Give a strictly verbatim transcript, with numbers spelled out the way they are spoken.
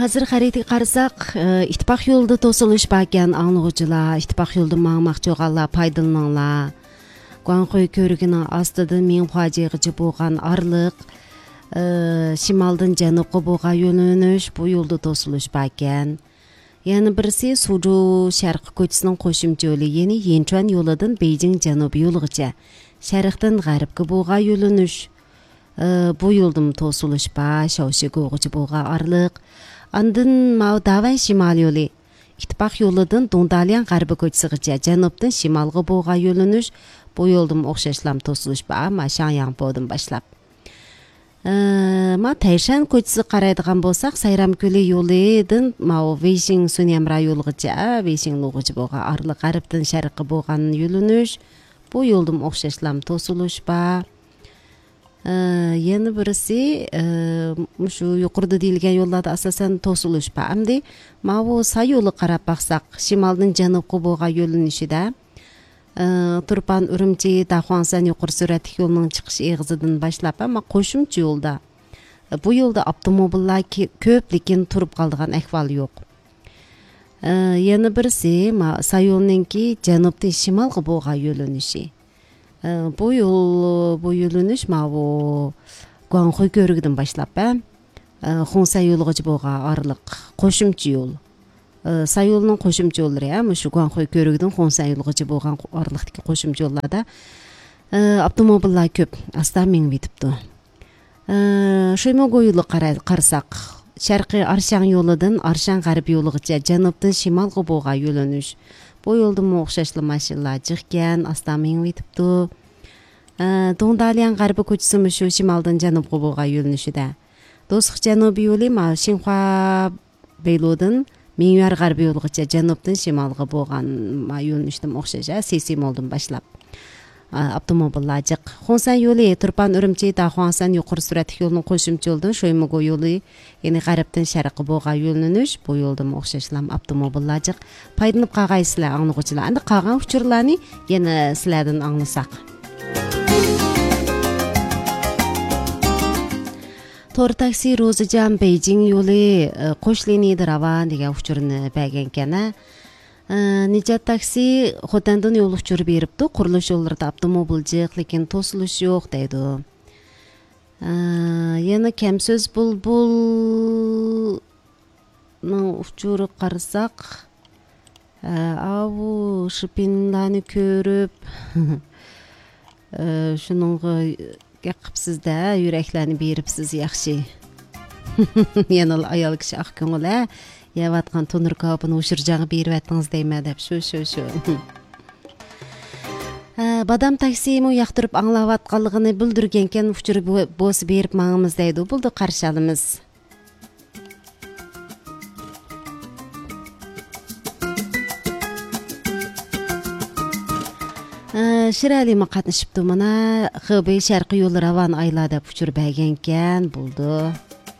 ھازىر خەرىتىگە قارىساق، ئىتتىپاق يولىدا توسۇلۇش باركەن، ئاڭلىغۇچىلار، ئىتتىپاق يولىدا ماڭماقچى بولغانلار پايدىلىنىڭلار. گۇاڭخۇي كۆۋرۈكىنىڭ ئاستىدىن مىڭخۇاجيېغىچە بولغان ئارىلىق، ئى، شىمالدىن جەنۇبقا بولغان يۆنىلىش، بۇ يولدا توسۇلۇش باركەن. يەنە بىرسى سۇجۇ شەرقىي كوچىسىنىڭ قوشۇمچە يولى، يەنى يىنچۈەن يولىدىن بېيجىڭ جەنۇبىي يولىغىچە، شەرقتىن غەربكە بولغان يۆنىلىش. ئى، بۇ يولدىمۇ توسۇلۇش بار، شاۋشىگوغىچە بولغان ئارىلىق. ئاندىن ماۋۇ داۋەن شىمال يولى، ئىتتىپاق يولىدىن دۇڭدالياڭ غەربىي كوچىسىغىچە، جەنۇبتىن شىمالغا بولغان يۆنىلىش، بۇ يولدىمۇ ئوخشاشلام توسۇلۇش بار، ما شاڭياڭپودىن باشلاپ. ئى، ما تەيشەن كوچىسىغا قارايدىغان بولساق، سايرام كۆلى يولىدىن ماۋۇ ۋېيشىڭ سۈنيەمرا يولىغىچە، ۋېيشىڭ لۇغىچە بولغان ئارىلىق، غەربتىن شەرققە بولغان يۆنىلىش، بۇ يولدىمۇ ئوخشاشلام توسۇلۇش بار. ئى، يەنە بىرسى، ئى، مۇشۇ يۇقىرىدا دېيىلگەن يوللاردا ئاساسەن توسۇلۇش بار. ئەمدى ماۋۇ ساي يولىغا قاراپ باقساق، شىمالدىن جەنۇبقا بولغان يۆنىلىشىدە، ئى، تۇرپان ئۈرۈمچى داخۇاڭسەن يۇقىرى سۈرئەتلىك يولىنىڭ چىقىش ئېغىزىدىن باشلاپ، ئەمما قوشۇمچە يولدا، بۇ يولدا ئاپتوموبىللار كى-، كۆپ، لېكىن تۇرۇپ قالىدىغان ئەھۋال يوق. ئى، يەنە بىرسى، ما-، ساي يولىنىڭكى جەنۇبتىن شىمالغا بولغان يۆنىلىشى. ئى، بۇ يول، بۇ يۆنىلىش ماۋۇ گۇاڭخۇي كۆۋرۈكىدىن باشلاپ، ئە، ئى، خۇڭسەن يولىغىچە بولغان ئارىلىق قوشۇمچە يول. ئى، ساي يولىنىڭ قوشۇمچە يوللىرى، ئە، مۇشۇ گۇاڭخۇي كۆۋرۈكىدىن خۇڭسەن يولىغىچە بولغان ئارىلىقتىكى قوشۇمچە يوللاردا، ئى، ئاپتوموبىللار كۆپ، ئاستا مېڭىۋېتىپتۇ. ئى، شۇيمۇگو يولىغا قارا-، قارىساق، شەرقىي ئارشاڭ يولىدىن ئارشاڭ غەربىي يولىغىچە جەنۇبتىن شىمالغا بولغان يۆنىلىش. بۇ يولدىمۇ ئوخشاشلا ماشىنىلار جىقكەن، ئاستا مېڭىۋېتىپتۇ. ئى، دۇڭدالياڭ غەربىي كوچىسىمۇ شۇ شىمالدىن جەنۇبقا بولغان يۆنىلىشىدە. دوستلۇق جەنۇبىي يولى ما شىنخۇا بېيلۇدىن مىڭيۈەر غەربىي يولىغىچە جەنۇبتىن شىمالغا بولغان ما يۆنىلىشتىمۇ ئوخشاش، ھە، سىسىمولدىن باشلاپ. ئا، ئاپتوموبىللار جىق. خۇڭسەن يولى تۇرپان ئۈرۈمچى داخۇاڭسەن يۇقىرى سۈرئەتلىك يولىنىڭ قوشۇمچە يولىدىن شۇيمۇگو يولى، يەنى غەربتىن شەرققە بولغان يۆنىلىش، بۇ يولدىمۇ ئوخشاشلا ئاپتوموبىللار جىق. پايدىلىنىپ قالغايسىلەر، ئاڭلىغۇچىلار. ئەمدى قالغان ئۇچۇرلارنى يەنە سىلەردىن ئاڭلىساق. تور تاكسى روزىجان بېيجىڭ يولى، ئى، قوش لىنىيىدە راۋان دېگەن ئۇچۇرنى بەرگەنكەن، ھە. ئى، نىجات تاكسى خوتەندىن يول ئۇچۇرى بېرىپتۇ، قۇرۇلۇش يوللىرىدا ئاپتوموبىل جىق، لېكىن توسۇلۇش يوق دەيدۇ. ئى، يەنە كەم سۆز بۇلبۇلنىڭ ئۇچۇرىغا قارىساق، ئاۋۇ شىپىنلارنى كۆرۈپ، شۇنىڭغا گەپ قىپسىز-دە، يۈرەكلەرنى بېرىپسىز، ياخشى. يەنىلا ئايال كىشى ئاق كۆڭۈل، ھە؟ يەۋاتقان تونۇر كاۋىپىنى ھوشۇرجانغا بېرىۋەتتىڭىز دەيمەن دەپ، شۇ، شۇ، شۇ. ھە، بادام تاكسىمۇ ياقتۇرۇپ ئاڭلاۋاتقانلىقىنى بىلدۈرگەنكەن، ئۇچۇر بو-، بولسا بېرىپ ماڭىمىز دەيدۇ. بولدى، قارشى ئالىمىز. ئە، شىرئەلىمۇ قاتنىشىپتۇ مانا، خېبېي شەرقىي يولى راۋان ئايلا دەپ ئۇچۇر بەرگەنكەن، بولدى.